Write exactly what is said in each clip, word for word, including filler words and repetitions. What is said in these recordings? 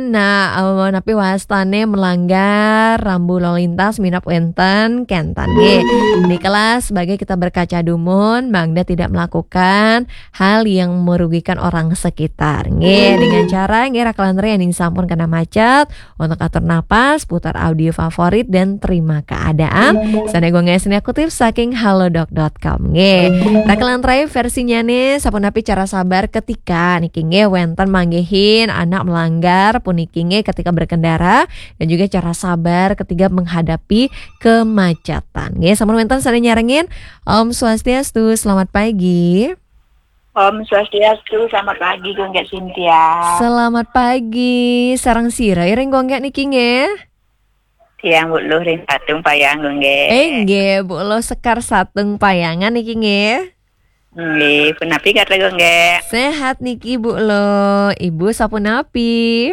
Nah, eh, napi wastane melanggar rambu lalu lintas minab wenten kenten nggih. Nikelah sebagai kita berkaca dumun, mangda tidak melakukan hal yang merugikan orang sekitar. Nggih, dengan cara nggih raka lan rayang ning sampun kena macet, untuk atur napas, putar audio favorit dan terima keadaan. Sane gue ngesne kutip saking halodoc dot com. Nggih. Raka lan rayang versinya nih, sapunapi cara sabar ketika niki nggih wenten manggihin anak melanggar puniki nggih ketika berkendara dan juga cara sabar ketika menghadapi kemacetan. Nggih, sampun wenten sane nyarengin. Om Swastiastu, selamat pagi. Om Swastiastu, selamat pagi, Gung Gek Cynthia. Selamat pagi, sareng sira iring Gung Gek niki nggih? Tiang Bu Luh ring Patung Payang, Gung Gek. Eh, nggih, Bu Luh Sekar Satung Payangan niki nggih. Nggih, punapi kata, Gung Gek? Sehat niki, Bu Luh. Ibu sapunapi?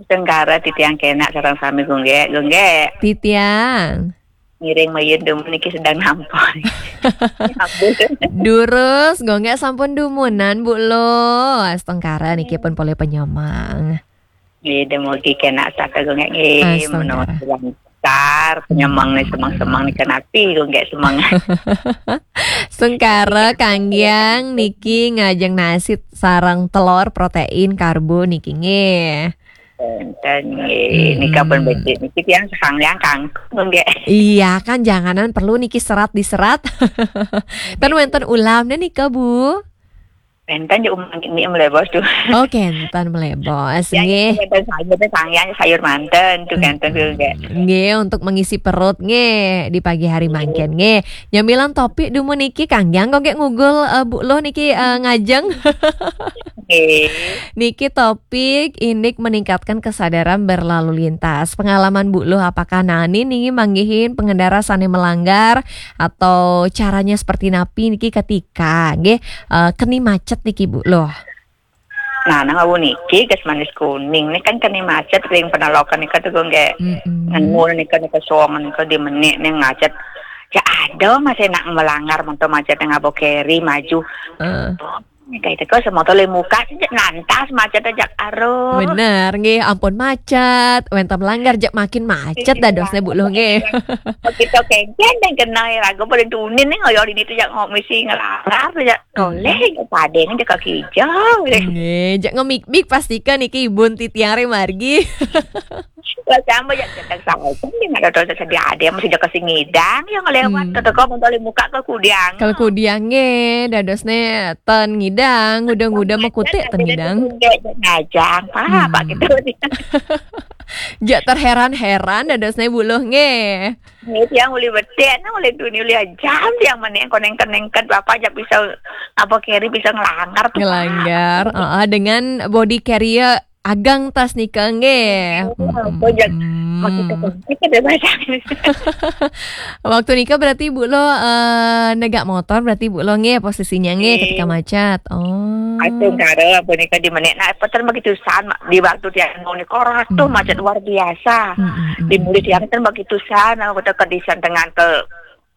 Sengkara titiang kenak sareng sami, Gung Gek, Gung Gek. Titiang. Ngiring mayun dumun niki sedang nampa. Ampun. Durus, Gung Gek sampun dumunan, Bu Luh. Astungkara niki pun polih penyemang. Nggih, dumugi kenak saka, Gung Gek, nggih. Astungkara. Menawi lancar, penyemang nih, semang-semang nih, kenapi, Gung Gek, semang. Sengkara kanggiang niki ngajeng nasi sareng telur, protein, karbo niki nggih. Enten nggih. Mm-mm. Nika pun becik niki tiang sekanggiang kangkung nggih. Iya kan, janganan perlu niki serat diserat. Ten wenten ulamne nika, Bu? Enten ya umang ini melebos tuh. Oh, kenten melebos nggih. Ya, enten sayur, enten kanggiang sayur manten tuh, kenten tuh nggih. Nggih, untuk mengisi perut nggih di pagi hari mangkin nggih. Nyamilan topik dumun niki kanggiang kok nggih ngugul, eh, Bu Luh niki, eh, ngajeng. Nggih. Niki topik indik meningkatkan kesadaran berlalu lintas. Pengalaman Bu Luh apakah nani niki manggihin pengendara sane melanggar atau caranya seperti napi niki ketika nggih, eh, keni macet niki Bu Luh? Nah, nang awu niki gas manis kuning nih kan keni macet ring penelokan nika tuh nggih. Mm-mm. Ngenu nika nika song nika di menik nih macet. Ya ada masih nak melanggar motor macet yang abokeri maju. Eh. Kayak itu kok semotor le muka sih, cek nantas macet aja aruh. Bener, nggih, ampun macet, wenten melanggar jak makin macet dadosnya Bu Luh nggih. Begitu kencen dan kena ya, ragu paling tunin nih ngoyol ini tuh jak ngomisi ngelarang tuh jak toleh, jak padeng aja kaki hijau. Nggih, jak ngemik-mik pastikan niki ibun titiang re margi. Lah sama ya, cedek saja nih, nggak ada dosa sedih ada yang masih jaga sing ngidang yang lewat. Hmm. Kata kau mentoli muka ke kudiang. Kalau kudiang nggih, dadosne ten ngidang, nguda-nguda mekutik ten ngidang. Ngajang, apa gitu. Jak terheran-heran dadosne Bu Luh nggih. Nggih, tiang uli betik, nah, uli dunia uli jam tiang meneng koneng-koneng ket bapak jak bisa apa keri bisa ngelanggar tuh. Ngelanggar, heeh, dengan body carrier agang tas nika nggih. Iya, mm, apa jak, mm, makin kepencet ada bahasa. Waktu nika berarti Bu Luh, eh, negak motor berarti Bu Luh nggih posisinya nggih. Nggih. Ketika macet. Oh. Atau karo apa nika di menit. Nah, peter begitu san di waktu tiang mau nika orang tuh macet luar biasa. Mm, mm, mm. Di mulut tiang kan begitu san, aku tak kedisan dengan ke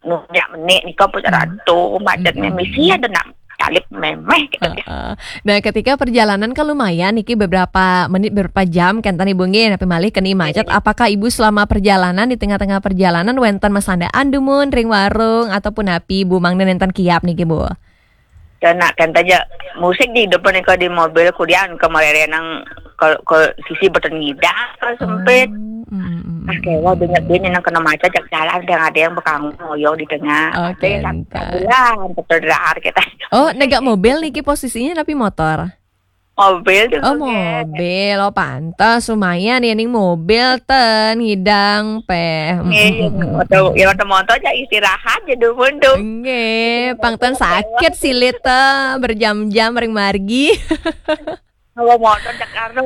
nunyak menik nika pun ratu macetnya misi ada nak talip memeh gitu. Heeh. Nah, ketika perjalanan kan lumayan niki beberapa menit, beberapa jam kan tadi Bu nggih, napi malih keni macet. Iya. Apakah Ibu selama perjalanan, di tengah-tengah perjalanan wenten masandaan dumun ring warung ataupun napi Bu mangda nenten kiap niki Bu? Kena kan taja musik di depan nika di mobil kudian ke marere nang ke, ke sisi beten ngidang ke sempit. Oh, mm, mm, mm. Nah, kayak wah banyak dia nang kena macet jak jalan, ada yang bekang moyong di tengah. Oke, ada yang tak entah. Bulan betul dahar kita. Oh, negak mobil niki posisinya napi motor? Mobil tuh. Oh, mobil. Oh, pantas lumayan ya ning mobil ten ngidang peh. Mm, mm, mm, mm. Nggih, motor, ya motor motor aja istirahat ya dumun tuh. Nggih, pang ten sakit silit te berjam-jam ring margi. Kalau motor jak karo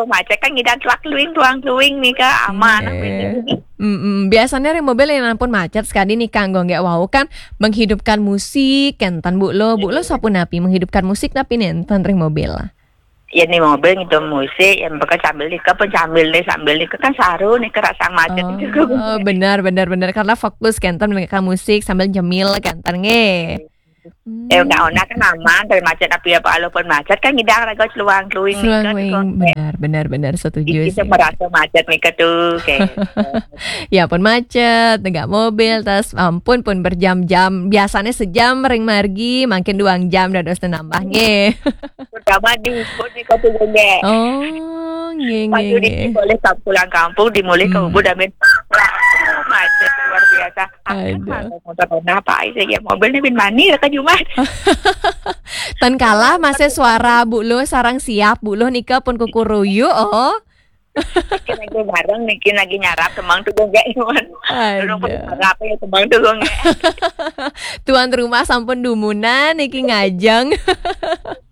macet kan ngidang tuak luing tuang luing nih Kak, aman. Nggih. Mm, mm. Biasanya ring mobil yang ampun macet sekali nih Kak, nggak wau kan menghidupkan musik, kenten Bu Luh, Bu Luh sapunapi menghidupkan musik napi nenten ring mobil? Ya nih mobil ngitung musik, yang bakal sambil nika pun sambil nih sambil nika kan saru nih kerasa macet juga. Oh, benar, benar, benar. Karena fokus kenten mendengarkan musik sambil nyemil kenten nggih. Eh, undang-undang kan aman dari macet, tapi apa walaupun macet kan ngidang raga celuang-celuing. Seluang-seluing, benar, benar, benar, setuju sih. Kita merasa macet nih tuh, kayak. Ya pun macet, tegak mobil, tas ampun pun berjam-jam. Biasanya sejam ring margi, makin dua jam dados nambah nggih. Terutama di Ubud nih kok tuh nggih. Oh, nggih, nggih, nggih. Boleh pulang kampung, dimulih ke Ubud, amin. Macet luar biasa. Aduh. Motor Honda apa aja ya, mobil nih bin mani ke Jumat. Tan kalah masih suara Bu Luh sarang siap Bu Luh nika pun kukuruyu, oh. Niki lagi bareng, niki lagi nyarap semang tuh gue nggak iman. Aduh. Apa ya semang tuh gue nggak. Tuan rumah sampun dumunan niki ngajeng.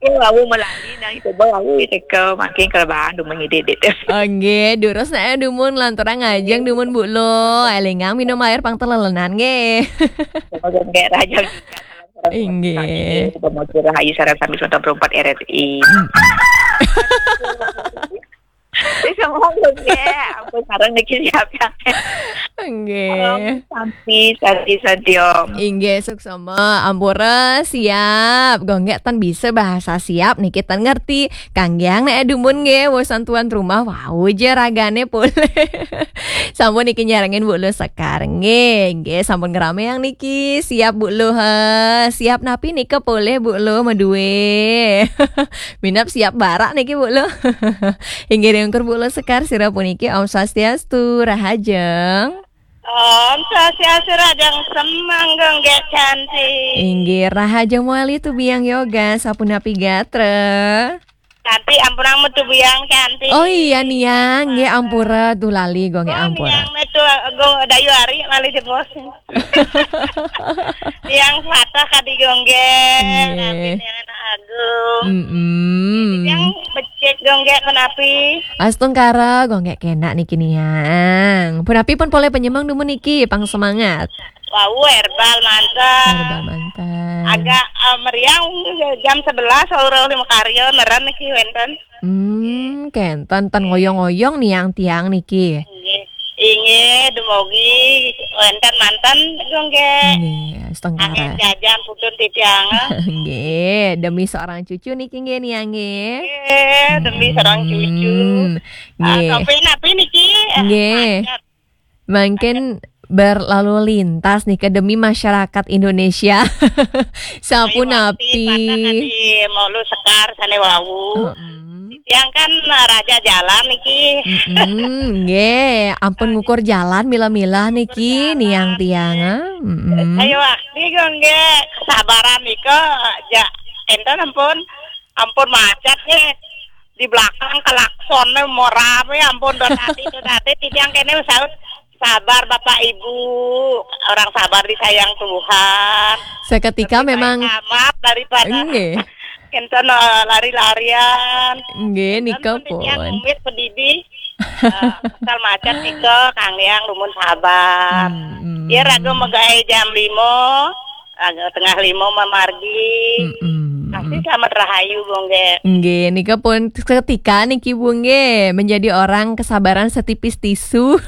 Aku lalu melali nang itu boy aku itu ke makin kelebaran dumun ini deh. Oke, durus nah dumun lanturang ngajeng dumun Bu Luh. Elingang minum air pang telelenan nggih. Semoga nggak raja. Inggih. Pemotor Rahayu Sarang Sami Sonton Perempat R R I. Wis ngomong lho, nggih. Ampun, sareng niki siap ya. Nggih. Om Santi, Santi, Santi, Om. Inggih, suksma. Ampura siap. Gonggek tan bisa bahasa siap niki tan ngerti. Kanggiang nek dumun nggih, wusan tuan rumah wau je ragane pulih. Sampun niki nyarengin Bu Luh Sekar nggih. Nggih, sampun ngerameang niki. Siap Bu Luh, eh. Siap napi nika pulih Bu Luh medue. Minap siap barak niki Bu Luh. Inggih ringkur Bu Luh Sekar sira puniki Om Swastiastu, rahajeng. Om Swastiastu, rahajeng semang gonggek cantik. Inggih, rahajeng mawali tu biang yoga, sapunapi gatra. Cantik, ampura metu biang cantik. Oh iya niang, nggih ampura tu lali gonggek ampura. Niang metu go dayu ari malih jebos. Niang patah kadi gonggek, tapi niang anak agung. Mm-mm. Niang becik gonggek menapi. Astungkara gonggek kenak niki niang. Punapi pun poleh penyemang dumun niki, pang semangat. Wau herbal manten. Herbal manten. Agak eh, meriang jam sebelas orang lima karya neren niki wenten. Hmm, kenten ten ngoyong-ngoyong niang tiang niki. Inggih. Inggih, dumogi wenten manten gonggek. Nggih, setengkara. Angin jajan putun titiang. Nggih, demi seorang cucu niki nggih niang nggih. Nggih, demi seorang cucu. Hmm, nggih. Tapi napi niki? Nggih. Mangkin berlalu lintas nih ke demi masyarakat Indonesia. Sapunapi. Di Molu Sekar sane wau. Yang kan raja jalan niki. Mm-mm, nggih, ampun ngukur jalan mila-mila niki niang tiang. Ah. Mm-mm. Ayo wakti gonggek kesabaran nika ja enten ampun. Ampun macet nih. Di belakang klaksonnya mau rame, ampun, do tadi, do tadi, titiang kene saut, sabar Bapak Ibu, orang sabar disayang Tuhan. Seketika memang amat daripada enten eh, lari-larian. Nggih, nika pun. Titiang umit pedidi. Eh, asal macet nika kanggiang lumun sabar. Hmm, hmm. Ya raga megawe jam lima, raga tengah lima mamargi. Mm-mm. Pasti selamat rahayu, Bu nggih. Nggih, nika pun seketika niki Bu nggih menjadi orang kesabaran setipis tisu.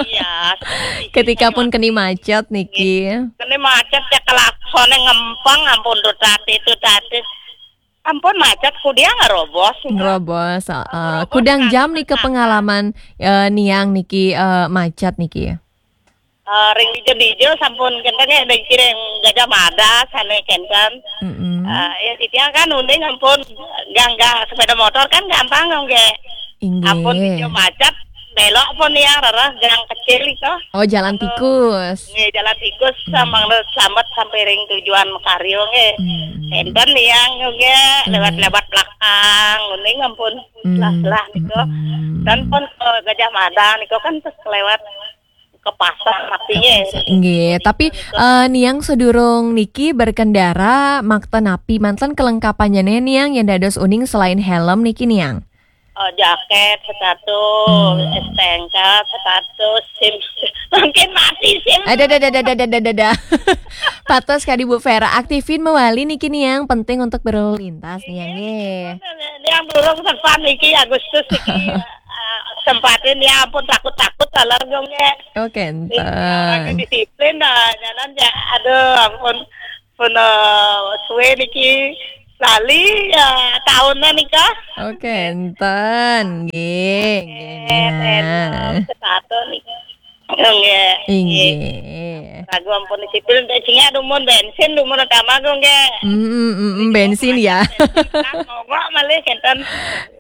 Iya, setipis tisu. Ketika pun keni macet niki. Keni macet ya klaksone ngempeng ampun tuh tadi tuh tadi. Ampun macet kudiang ngerobos. Ngerobos, heeh. Kudang jam niki pengalaman eh, niang niki eh, macet niki. Eh, ring dijo-dijo sampun kenten ya ring kiring Gajah Mada sane kenten. Mm-mm. Eh, ya titiang kan uning ampun gang-gang sepeda motor kan gampang nggih. Inggih. Ampun dijo macet belok pun niang rereh gang kecil itu. Oh, jalan tikus. Nggih, jalan tikus samang selamat sampai ring tujuan makarya nggih. Mm-mm. Enten niang nggih lewat-lewat belakang uning ampun selah-selah niku. Mm-mm. Dan pun ke Gajah Mada niku kan terus lewat ke pasar artinya. Nggih, tapi eh, niang sedurung niki berkendara makta napi manten kelengkapannya nih niang yang dados uning selain helm niki niang. Oh, jaket, sepatu, hmm. S T N K, sepatu, SIM. Mungkin mati SIM. Ada, ada, ada, ada, ada, ada, ada. Patos kadi Bu Vera, aktifin mawali niki niang penting untuk berlalu lintas niang nggih. Niang durung sempat niki Agustus niki. Eh, sempatin ya ampun takut-takut taler dong ya. Oh, kenten. Orang disiplin dah jalan ya. Aduh, ampun. Pun eh, suwe niki lali ya tahunan nika. Oke, enten. Nggih, nggih. Eh, eh, Setaton nika. Nggih. Inggih. Ragu ampun sipil entek sing dumun bensin dumun utama ku nggih. Mm, mm, mm, bensin ya. Mogok malih kenten.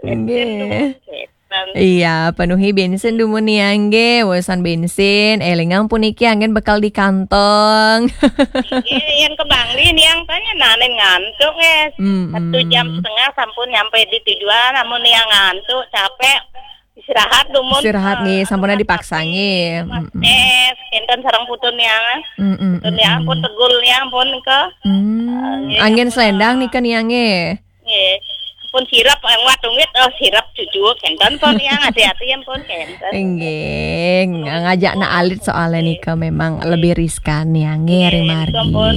Nggih. Kenten. Iya, penuhi bensin dumun ya nggih. Urusan bensin, elingang puniki anggen bekal di kantong. Nggih, yen ke Bangli niang tanya nanen ngantuk nggih. Mm, Satu jam mm. setengah sampun nyampe di tujuan, namun niang ngantuk, capek, istirahat dumun. Istirahat nggih, Eh, sampun istirahat dipaksa tapi nggih. Mas Mm, mm. Es, enten sareng putun niang. Mm, mm, Putun mm, niang pun mm. tegul niang pun ke. Hmm, Nggih, anggen ampun, selendang ah. Nika niang nggih. Nggih. Pun sirap yang wat wit, oh sirap cucuk kenten pun niang, hati-hati yang pun kenten. Nggih, ngajak na alit soalnya Nika memang lebih riskan ya nggih, ring Nggih, margi. ampun.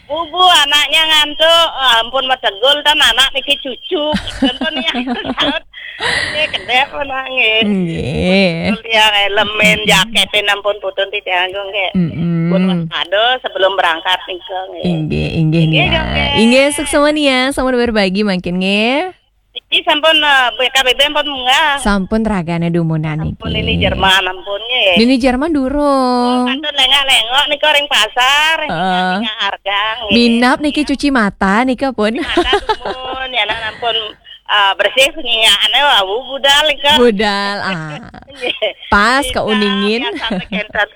Bubu anaknya ngantuk, ampun mategul tan anak niki cucuk. Kenten pun niang saut. Nggih, kedek pun nangis. Nggih. Yang elemen jaketin ampun putun tidak anggung nggih. Mm-mm. Pun waspada sebelum berangkat nika nggih. Inggih, inggih Inggih, nia. nggih. Inggih, suksma nia, sampun berbagi mangkin nggih. Iki sampun eh, B K B B ampun munggah. Sampun ragane dumunan niki. Pun ini Jerman ampun nggih. Nini Jerman durung. Kantun lengak-lengok nika ring pasar, Heeh. ning harga nggih. Minap niki cuci mata nika pun. Mata dumun ya nak ampun eh, bersih penyingaane wau budal nika. Budal ah. Nggih. Pas Bisa, keuningin. Biasa kenten.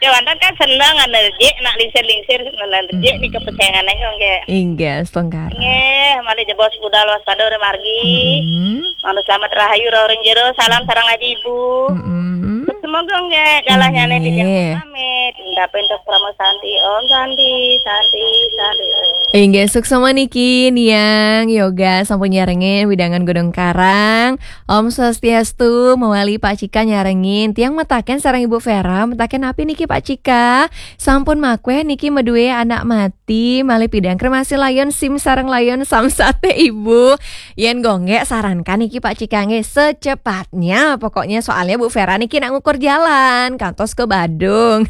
Dewantan kan seneng alergi nak lingsir-lingsir alergi nih kepesengan aja nggih. Inggih, setengkar. Nggih, malih jebos budal waspada ora margi. Hmm. Manut selamat rahayu roh ring jero, salam sareng aji ibu. Mm-mm. Semoga nggih galahnya nih Nggih. tidak pamit. Ndapin tok Parama Santi. Om Santi, Santi, Santi. Om. Inggih, suksma niki niang yoga sampun nyarengin widangan Gunung Karang. Om Swastiastu, mawali Pak Cika nyarengin. Tiang mataken sareng Ibu Vera, mataken napi niki Pak Cika? Sampun makweh niki medue anak mati, malih pidang kremasi layon sim sareng layon samsate Ibu. Yen gonggek sarankan niki Pak Cika nggih secepatnya. Pokoknya soalnya Bu Vera niki nak ngukur jalan kantos ke Badung.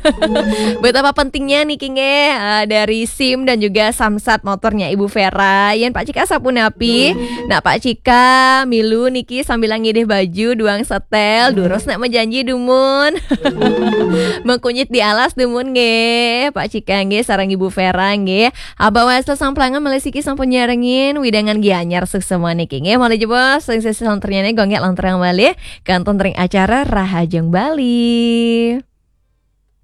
Betapa pentingnya niki nggih eh, dari sim dan juga samsat motornya Ibu Vera. Yen Pak Cika sapunapi, nak Pak Cika milu niki sambil ngidih baju duang setel, durus nak mejanji dumun. Mengkunyit di alas dumun nggih. Pak Cika nggih sareng Ibu Vera nggih. Abah Wesel Samplangan malih siki sampun nyarengin widangan Gianyar suksma niki nggih. Malih jebos sing sesi lonternyane gonggek lontrang malih kantun ring acara Rahajeng Bali.